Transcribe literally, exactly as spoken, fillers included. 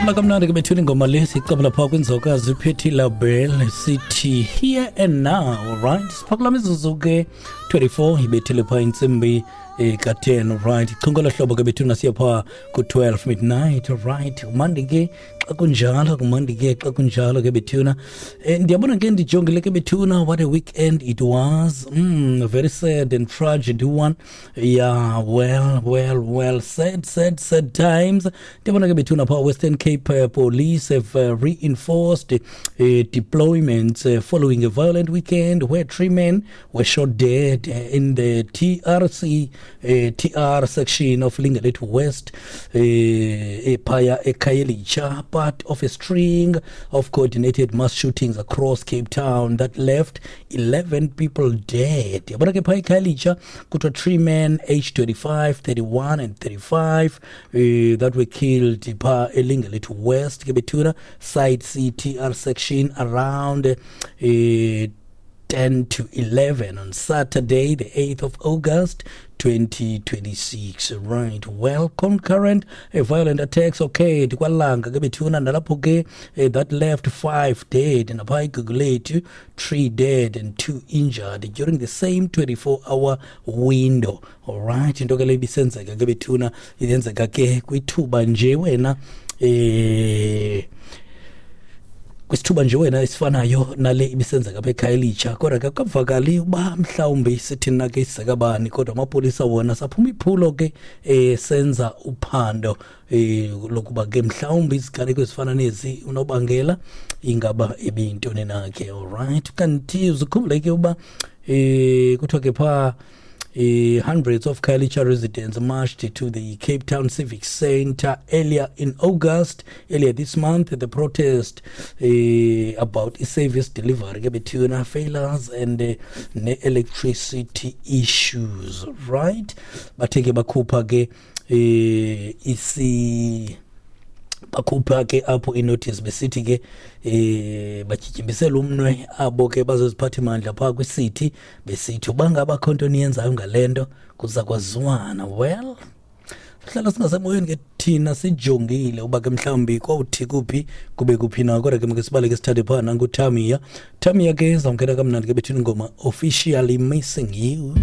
Siphulaphula kamnandi ke bethuna ingoma le, sicabula phaa kwinzokazi Patti LaBelle, sithi "Here and Now". Right, siphakula mizuzu ke twenty-four ibethile phaa intsimbi eh, ka-ten. Right, ichungolo hlobo ke bethuna, siya phaa ku-twelve midnight. Right, kumandi ke xa kunjalo, kumandi ke xa kunjalo ke bethuna. um ndiyabona ke, ndijongile ke bethuna, what a weekend it was. mm, very sad and tragic one. Yeah, well, well, well, sad, sad, sad times. Ndiyabona ke bethuna phaa Western Cape uh, police have uh, reinforced uh, deployments uh, following a violent weekend where three men were shot dead uh, in the T R C uh, T R section of Lingelethu West, uh, ephaya eKhayelitsha, part of a string of coordinated mass shootings across Cape Town that left eleven people dead. Yabona ke, phaya eKhayelitsha kuthiwa three men aged twenty-five, thirty-one and thirty-five uh, that were killed pha eLingelethu West ke bethuna, side C T R section, around uh, ten to eleven on Saturday, the eighth of August twenty twenty-six. Right, well, concurrent uh, violent attacks occurred kwaLanga ke bethuna, nalapho ke uh, that left five dead, napha eGugulethu three dead and two injured during the same twenty-four hour window. All right, into ke le ibisenzeka ke bethuna, yenzeka ke kwithuba nje wena eh kwisithuba nje wena esifanayo nale ibisenzeka apha eKhayelitsha. Kodwa ke akukavakali uba mhlawumbi sithini na ke isizekabani, kodwa amapolisa wona saphuma iphulo ke eh senza uphando eh lokuba ke mhlawumbi iziganeko ezifana nezi unobangela ingaba ebiyintoni na ke. Alright, kanti uzikhumbule ke uba eh kuthiwa ke phaa Uh, hundreds of Khayelitsha residents marched to the Cape Town Civic Center earlier in August, earlier this month. The protest uh, about service delivery ke bethuna failures and uh, ne-electricity issues. Right, bathe ke bakhupha ke eh isi bakhupha ke apho inotice, besithi ke eh batyityimbisela umnwe abo ke bazoziphatha imandla phaa kwisithi, besithi uba ngaba kho nto niyenzayo ngale nto, kuza kwaziwana. Well, sihlala singasemoyeni ke thina, sijongile uba ke mhlawumbi kwawuthi kuphi kube kuphi na. Kodwa ke make sibaleke, sithathe phaa nanguTamia. Tamia ke, zawungena kamnandi ke bethuna ingoma "Officially Missing You".